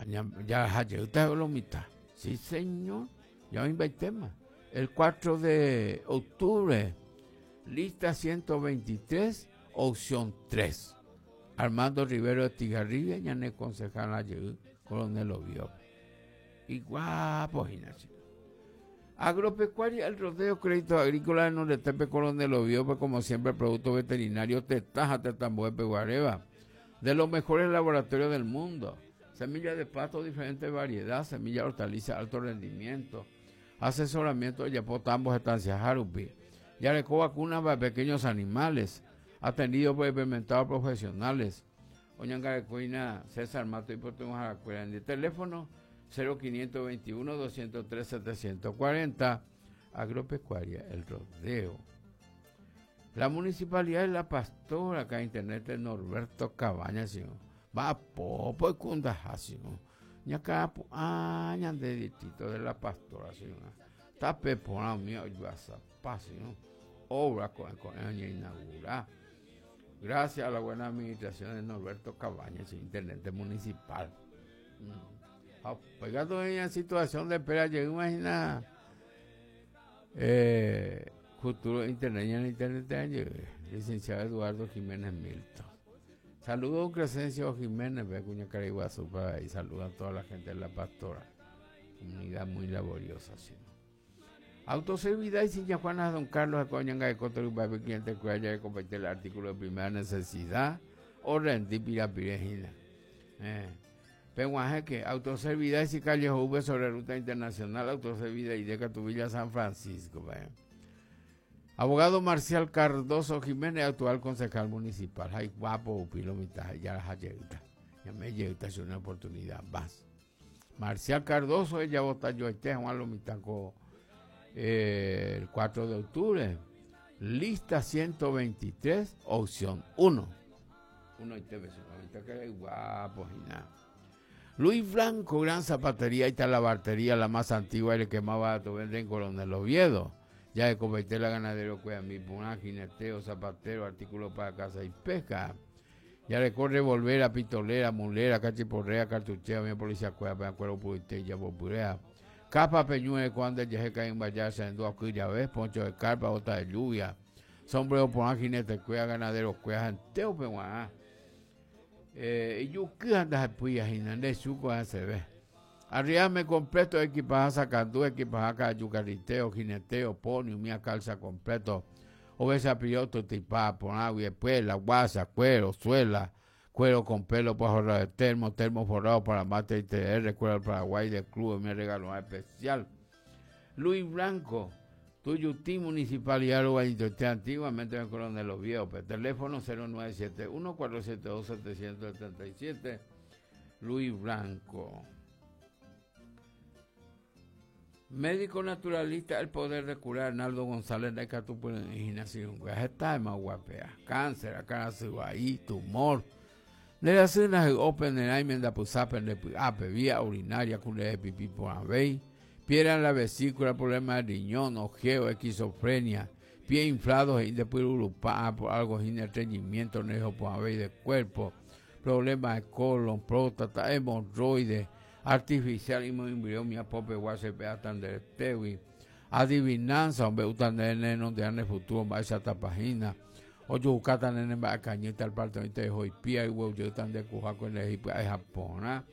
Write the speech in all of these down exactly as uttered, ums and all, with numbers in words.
Ya ya lo mitad. Sí, señor. Ya hoy tema. El cuatro de octubre, lista ciento veintitrés, opción tres. Armando Rivero de Tigarribia, ñane concejal ayer, Coronel Oviedo. Y guapo, Ignacio. Agropecuaria, El Rodeo, Crédito Agrícola de Nortepe, Coronel Oviedo, pues como siempre, producto veterinario, tetaja, tetamboe, peguareba, de los mejores laboratorios del mundo. Semillas de pasto, diferente variedad, semilla hortaliza, alto rendimiento, asesoramiento de Yapó, tambos, estancias, Jarupi. Yarecó vacunas para pequeños animales, atendido por experimentados profesionales. Oñangarecoina, César Mato y Puerto Jaracuera. En el teléfono cero quinientos veintiuno, doscientos tres, setecientos cuarenta. Agropecuaria, El Rodeo. La Municipalidad de La Pastora, acá en internet de Norberto Cabañas, señor. Va popo y cundaja, señor. Ñacá, ah, ñande distrito de La Pastora, señor. Tape por la mía, yo a zapá, señor. Obra con, con ella inaugurar. Gracias a la buena administración de Norberto Cabañas, intendente municipal. Mm. Pegado en la situación de espera, llegó, imagina, eh, futuro internet, en internet, licenciado Eduardo Jiménez Milton. Saludos a don Crescencio Jiménez, ve, cuña Cariguazú, para ahí, saluda a toda la gente de La Pastora, comunidad muy laboriosa, sí. Autoservidad y Siña Juana Don Carlos, Acoñanga de Coto, Uruguay, cliente que haya de compartir el artículo de primera necesidad, o rendir pirapirejina. Eh. Peguajeque, Autoservidad y calle V sobre ruta internacional, Autoservidad y de Catubilla, San Francisco. Vaya. Abogado Marcial Cardoso Jiménez, actual concejal municipal. Ay, guapo, pilo, mitad, ya la llegita. Ya me llegita, es una oportunidad más. Marcial Cardoso, ella vota yo este, Juan Lomitaco, eh, el cuatro de octubre. Lista ciento veintitrés, opción uno. Uno y te ves, ahorita que es guapo y nada. Luis Blanco, gran zapatería y talabartería, la más antigua y el que más barato vende en Coronel Oviedo. Ya de convertir la ganadero, cuida mi puna, jineteo, zapatero, artículos para casa y pesca. Ya le corre volver a pistolera, mulera, cachiporrea, cartuchera, mi policía, cueva, me acuerdo, purite, ya popurea. Capa, peñuele, cuando el yeje cae en vallarse, en dos ya ves, poncho de carpa, bota de lluvia, sombrero, puna, jinete, cueva, ganadero, cueva, janteo, peguá. Eh, y yo qué andas pues de suco se ve. Arriame completo, equipaje sacandú, equipaje cayucariteo, jineteo, pony, mía calza completo. Obesa piloto, tipa, por agua y después la guasa, cuero, suela, cuero con pelo para forrar de termo, termo forrado para mate y T R, cuero del Paraguay del club, mi regalo especial. Luis Blanco, Tuyutí, Municipalidad de antiguamente en Coronel Oviedo, teléfono cero nueve siete uno, cuatro siete dos, siete siete siete, Luis Blanco. Médico naturalista, el poder de curar, Arnaldo González de Catupuna, está más guapea, cáncer, acá ahí, tumor. De la cena open de da pusapen de ape, vía urinaria, cule de pipí por avei. Piedra en la vesícula, problema de riñón, ojeo, esquizofrenia, pie inflado, y después urupá, por algo sin estreñimiento, nejo por avei de cuerpo, problemas de colon, próstata, hemorroides, artificial, y muy mi apope, guasepe, atanderetewi, adivinanza, hombre, utan nene, donde ande futuro, va esa tapajina, ocho bucata nene, va a cañita, al parte de hoy, pie, y huevo, yo tan de cujaco en el Egipto, es Japón, ¿ah?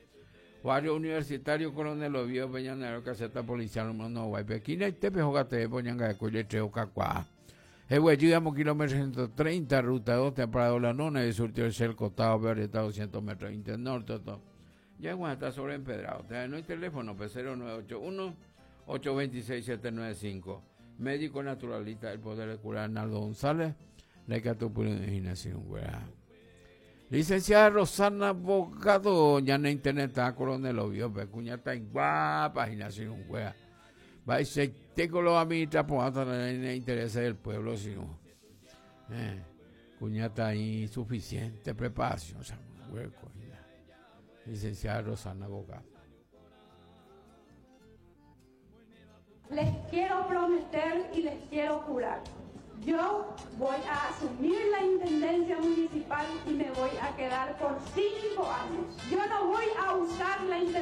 Barrio Universitario Coronel Oviedo, Peñanero, Caseta Policial, número no, guay, Pequina y Tepe, Jogate, Poñanga de Coye, Treo, Cacuá. Ewe, llegamos kilómetro ciento treinta, ruta dos, temporada la nona, y surtió el cel costado, verde, doscientos metros, internorte, todo. Ya igual está sobre empedrado. No hay teléfono, pues cero nueve ocho uno, ocho veintiséis, siete nueve cinco. Médico naturalista, el poder de curar, Arnaldo González, la Ecatupurinación, güey. Licenciada Rosana Bogado, ya en internet está Coronel Oviedo, pero cuña está en guapa, gimnasio, güey. Va y se tengo los administra, pues, hasta en el interés del pueblo, sino, eh, cuña está insuficiente preparación, o sea, hueco, ya. Licenciada Rosana Bogado. Les quiero prometer y les quiero jurar. Yo voy a asumir la intendencia municipal y me voy a quedar por cinco años. Yo no voy a usar la intendencia.